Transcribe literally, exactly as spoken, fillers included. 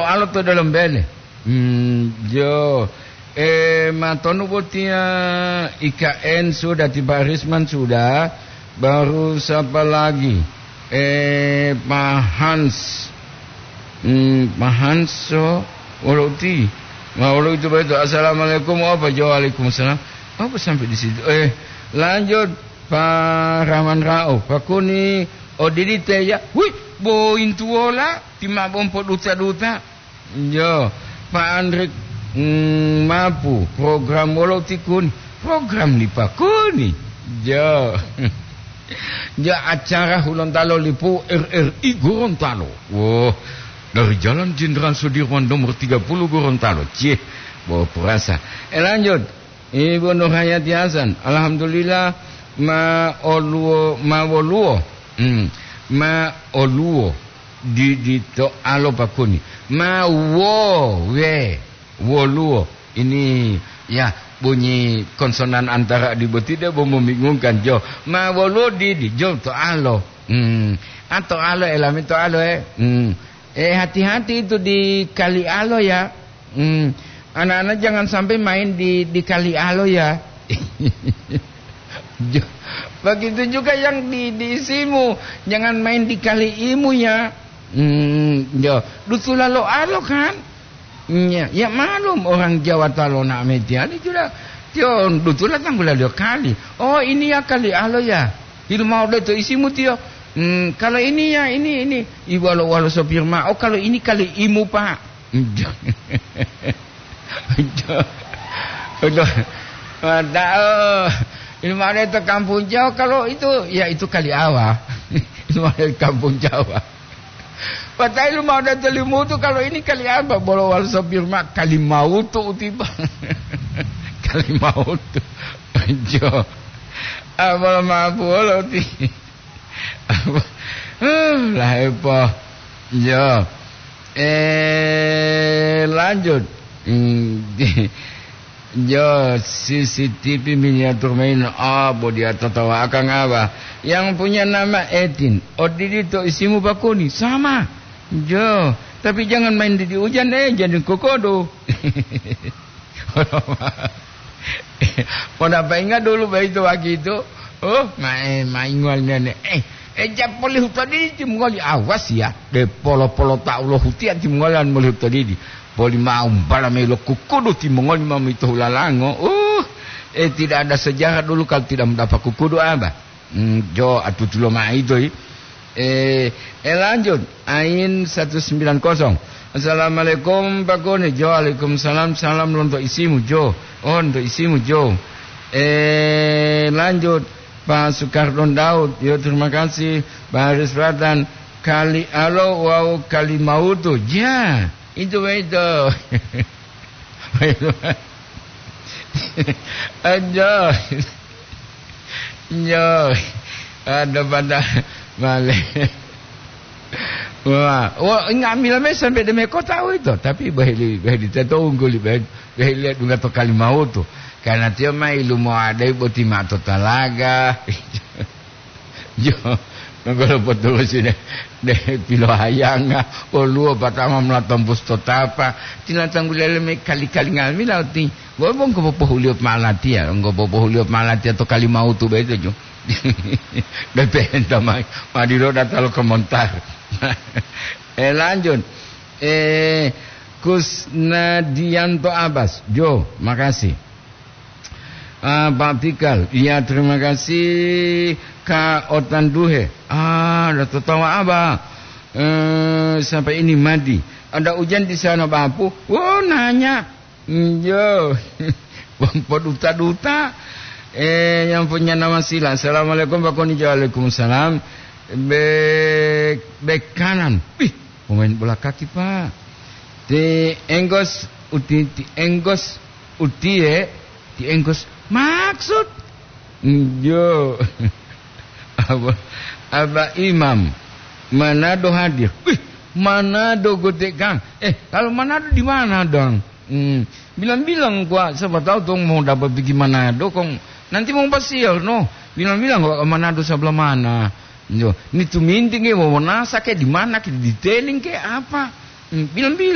Alo to dalam bele. Hmm, jo. Eh, matonu botia I K N sudah, tiba Risman sudah. Baru siapa lagi? Eh, Pak Hans. Hmm, Pak Hans, so, wolo uti. Ma, wolo itu betul. Assalamualaikum, apa? Jo, waalaikumsalam. Apa sampai di situ? Eh, lanjut, Pak Rahman Rauf. Pak Kuni, odidi te ya. Wih, bointuwola, timabompo duta-duta. Jo, Pak Andri, mm, mapu, program wolo ti Kuni? Program li Pak Kuni. Jo. Jo, acara Hulontalo lipu R R I Gorontalo. Woh, dari Jalan Jenderal Sudirman nomor tiga puluh Gorontalo. Cih, bawa perasa. Eh, lanjut. Ibu Nurhayati Hasan, alhamdulillah, ma oluwo, ma woluwo. Hmm, ma oluwo. Di, di to alo Pak Kuni. Ma wo, we, woluwo. Ini, ya, bunyi konsonan antara di boti debo membingungkan, jo. Ma woluwo di, di, jo, to alo. Hmm. A to alo, elami to alo, eh. Hmm. Eh, hati-hati itu di kali alo, ya. Hmm. Anak-anak jangan sampai main di, di kali alo, ya. Jo, begitu juga yang di, di isimu, jangan main di kali imu, ya. Hmm, jo, dutula lo alo kan? Ya, ya maklum orang Jawa ta lona'o metiali sudah. Tio dutula tanggula dio kali. Oh, ini ya kali alo ya. Ilmu mau to isimu tio. Hmm, kalau ini ya, ini, ini. Iwalo-walo sopir ma. Oh, kalau ini kali imu, Pak. Udah. Udah. Padahal ini mana itu kampung Jawa, kalau itu, ya itu kali awa. Ini mana kampung Jawa. Padahal mau datang Limutu, kalau ini kali apa? Bolo wal sopir ma kali mautu utiba. Kali mautu. Jo. Ah, bolo mabu wolo uti. Lah, epo. Yo. Eh, lanjut. Hmm, di-, yo, C C T V miniatur main. Ah, bo dia tatawa akang apa? Yang punya nama Etin. Odidi to isimu Pak Kuni. Sama. Jo, tapi jangan main di, di hujan, eh, jadi kokodo. Mau dapat ingat dulu begitu waktu itu. Oh, ma-, eh, maingual nene. Eh, eh, ja poli hutodidi timongoli, awas ya. De polo-polo tau lo hutia timongoli an moli hutodidi. Poli mau bala melo kukudu timongoli mau mito hulalango. Uh, eh, tidak ada sejarah dulu kalau tidak mendapat kukudu apa. Hmm, jo, atutulo maido, i. Eh, eh, lanjut. Ain satu sembilan kosong. Assalamualaikum, Pak Kuni. Jo, waalaikumsalam. Salam lonto isimu, Jo. Oh, lonto isimu, Jo. Eh, lanjut. Pak Sukardon Daud. Yo, terima kasih. Pak Haris Pratan. Kali alo wau kali mautu. Ja, itu, itu. Aja. Yo. Ada pada male. Wah, wah, nga'amila me sampai deme kota itu, tapi bahili, bahili teto ungguli, bahili, bahili dunga to Kalimautu. Karena tiyo mai lumo adai boti ma to talaga. Jo, nonggolo potulusi de, de pilohayanga, woluwo batanga mula tombus to tapa, tina tanggulele me kali-kali nga'amila uti, wolo bongko popohuliyo malatiya, bongko popohuliyo malatiya to Kalimautu boyito, jo. Bepenta mai, madilo data lo komentar. Eh, lanjut. Eh, Kusnadianto Abbas, jo, makasih. Ah, Pak Pikal, iya, terima kasih, Kak Otan Duhe. Ah, ada tertawa apa? Eh, sampai ini Madi. Ada hujan di sana, Bapu? Oh, nanya. Iyo. Bang poduta-duta. Eh, yang punya nama Sila. Assalamualaikum, Pak Koni. Waalaikumsalam. Bek, bek kanan. Wih, pemain bola kaki, Pak. Ti Enggos, uti, ti Enggos, utie, ti Enggos. Maksud? Iyo. Apa, apa Imam? Manado hadir. Wih, Manado gotek, Kang. Eh, kalau Manado di mana, Dang? Hmm, bilang-bilang gua, siapa tahu tuh mau dapat pergi Manado, kong nanti mau pasial, no. Bilang-bilang gua ke Manado sebelah mana. Yo, ini tuh minting ke, mau nasa ke, di mana ke, di teling ke, apa? Hmm, bilang-bilang